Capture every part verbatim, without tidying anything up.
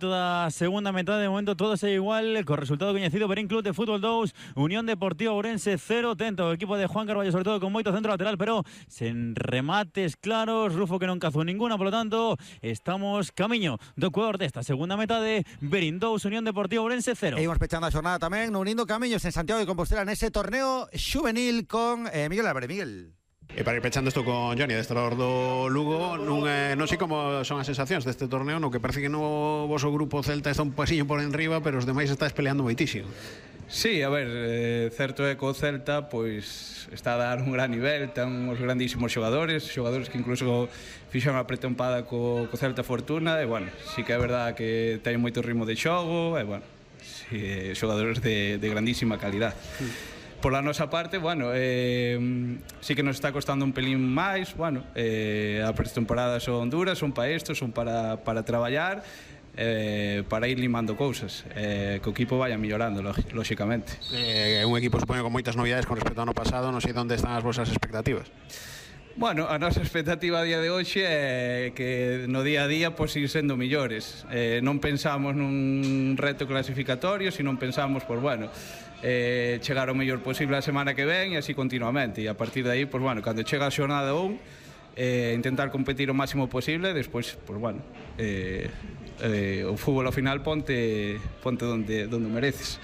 Toda segunda metade, de momento todo segue igual, co resultado coñecido: Verín Club de Fútbol dous, Unión Deportiva Ourense cero. Tento o equipo de Juan Carballo, sobre todo con moito centro lateral, pero sen remates claros. Rufo que non cazou ninguna, polo tanto estamos camiño do Ecuador desta segunda metade. Verín dous, Unión Deportiva Ourense cero. E imos pechando a xornada tamén, unindo camiños en Santiago de Compostela nese torneo xuvenil con eh, Miguel Álvarez. Miguel. E para ir pechando isto con Johnny, adestrador do Lugo, non, eh, non sei como son as sensacións deste torneo, no que parece que no voso grupo Celta está un pasiño por enriba, pero os demais está peleando moitísimo. Sí, a ver, eh, certo é que o Celta pois está a dar un gran nivel, ten uns grandísimos xogadores, xogadores que incluso fixan a pretempada co, co Celta Fortuna, e bueno, sí que é verdad que ten moito ritmo de xogo, e bueno, sí, xogadores de, de grandísima calidad. Sí. Por la nosa parte, bueno, eh, sí que nos está costando un pelín máis, bueno, eh, a pretemporada son duras, son para isto, son para, para traballar, eh, para ir limando cousas, eh, que o equipo vaya mellorando, lóxicamente. É eh, un equipo, supoño, con moitas novidades con respecto ao ano pasado, non sei onde están as vosas expectativas. Bueno, a nosa expectativa a día de hoxe é que no día a día pois ir sendo millores. Eh, non pensamos nun reto clasificatorio, sino pensamos, pois bueno, eh, chegar o mellor posible a semana que ven e así continuamente. E a partir de aí, pois bueno, cando chega a xornada un, eh, intentar competir o máximo posible, despois, pois bueno, eh, eh, o fútbol ao final ponte, ponte donde, donde mereces.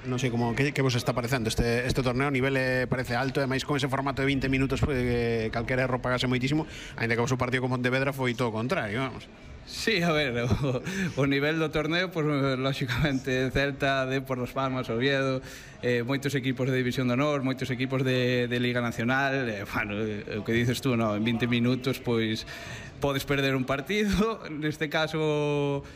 Non sei como que, que vos está parecendo este, este torneo. O nivel eh, parece alto, e máis con ese formato de vinte minutos pues, que calquera erro pagase moitísimo, ainda que o vosso partido con Pontevedra foi todo o contrario, vamos. Sí, a ver, o, o nivel do torneo, pues, lógicamente Celta, Depor, Las Palmas, Oviedo, eh, moitos equipos de División de Honor, moitos equipos de, de Liga Nacional, eh, bueno, eh, o que dices tú, no, en vinte minutos pois podes perder un partido. Neste caso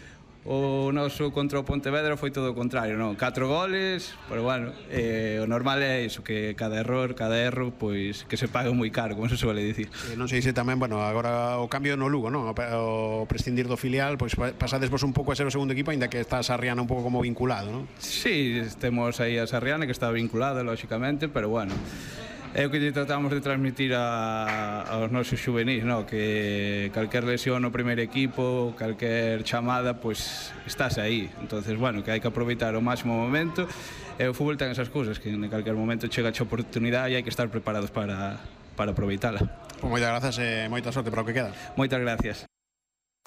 o noso contra o Pontevedra foi todo o contrario, non? Catro goles, pero bueno, eh, o normal é iso, que cada error, cada erro, pois que se paga moi caro, como se suele dicir. Eh, non sei se tamén, bueno, agora o cambio no Lugo, non? O, o prescindir do filial, pois pasades vos un pouco a ser o segundo equipo, aínda que está a Sarriana un pouco como vinculado, non? Sí, temos aí a Sarriana, que está vinculada, lógicamente, pero bueno, é o que tratamos de transmitir a, aos nosos xuvenis, no? Que calquer lesión no primeiro equipo, calquer chamada, pois estás aí. Entonces, bueno, que hai que aproveitar o máximo momento. E o fútbol ten esas cousas, que en calquer momento chega a oportunidade e hai que estar preparados para, para aproveitala. Pois moitas grazas e moita sorte para o que queda. Moitas gracias.